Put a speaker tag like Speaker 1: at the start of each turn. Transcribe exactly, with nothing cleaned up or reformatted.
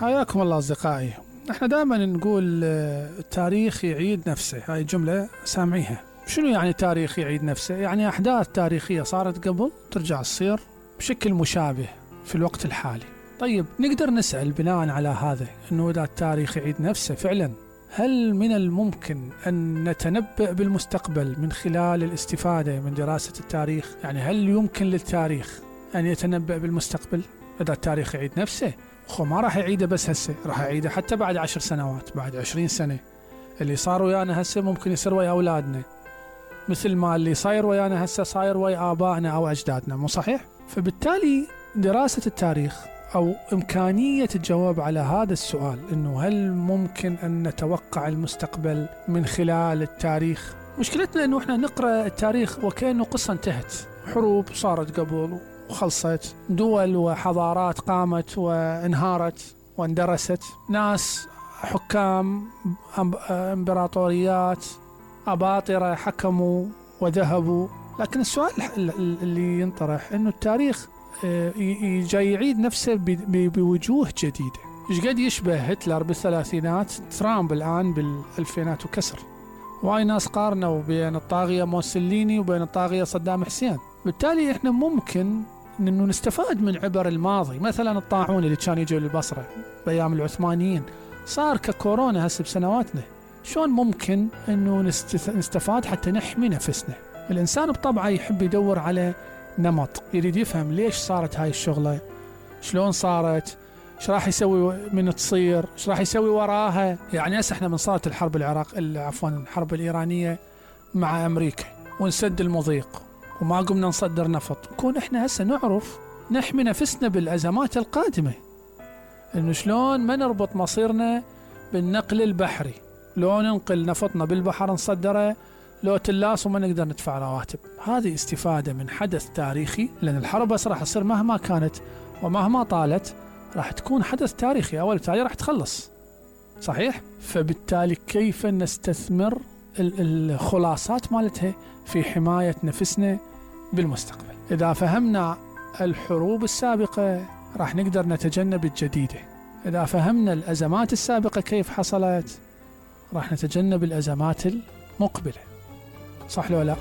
Speaker 1: حياكم الله أصدقائي. احنا دائما نقول التاريخ يعيد نفسه، هاي جملة سامعيها. شنو يعني التاريخ يعيد نفسه؟ يعني أحداث تاريخية صارت قبل ترجع تصير بشكل مشابه في الوقت الحالي. طيب نقدر نسأل بناء على هذا أنه إذا التاريخ يعيد نفسه فعلا، هل من الممكن أن نتنبأ بالمستقبل من خلال الاستفادة من دراسة التاريخ؟ يعني هل يمكن للتاريخ أن يتنبأ بالمستقبل إذا التاريخ يعيد نفسه؟ خو ما راح يعيده بس هسه، راح يعيده حتى بعد عشر سنوات، بعد عشرين سنة. اللي صار ويانا هسه ممكن يصير ويا أولادنا، مثل ما اللي صاير ويانا هسه صاير ويا آبائنا أو أجدادنا، مو صحيح؟ فبالتالي دراسة التاريخ أو إمكانية الجواب على هذا السؤال، إنه هل ممكن أن نتوقع المستقبل من خلال التاريخ؟ مشكلتنا إنه إحنا نقرأ التاريخ وكأنه قصة انتهت، حروب صارت قبل وخلصت، دول وحضارات قامت وانهارت واندرست، ناس حكام امبراطوريات أباطرة حكموا وذهبوا. لكن السؤال اللي ينطرح إنه التاريخ جاي يعيد نفسه بوجوه جديدة. إيش قد يشبه هتلر بالثلاثينات، ترامب الآن بالألفينات وكسر. واي ناس قارنوا بين الطاغية موسوليني وبين الطاغية صدام حسين. بالتالي إحنا ممكن إنه نستفاد من عبر الماضي. مثلا الطاعون اللي كان يجي للبصرة بأيام العثمانيين صار ككورونا هسه بسنواتنا. شلون ممكن إنه نستفاد حتى نحمي نفسنا؟ الإنسان بطبعه يحب يدور على نمط، يريد يفهم ليش صارت هاي الشغلة، شلون صارت، ايش راح يسوي من تصير، ايش راح يسوي وراها. يعني هسه احنا من صارت الحرب العراق عفوا الحرب الإيرانية مع أمريكا ونسد المضيق وما قمنا نصدر نفط، نكون احنا هسه نعرف نحمي نفسنا بالأزمات القادمة، انه شلون ما نربط مصيرنا بالنقل البحري، لو ننقل نفطنا بالبحر نصدره، لو تلاس وما نقدر ندفع رواتب. هذه استفادة من حدث تاريخي، لأن الحرب بس راح تصير مهما كانت ومهما طالت راح تكون حدث تاريخي، أول بالتالي راح تخلص، صحيح؟ فبالتالي كيف نستثمر الخلاصات مالتها في حماية نفسنا بالمستقبل؟ إذا فهمنا الحروب السابقة راح نقدر نتجنب الجديدة. إذا فهمنا الأزمات السابقة كيف حصلت راح نتجنب الأزمات المقبلة، صح لو لا؟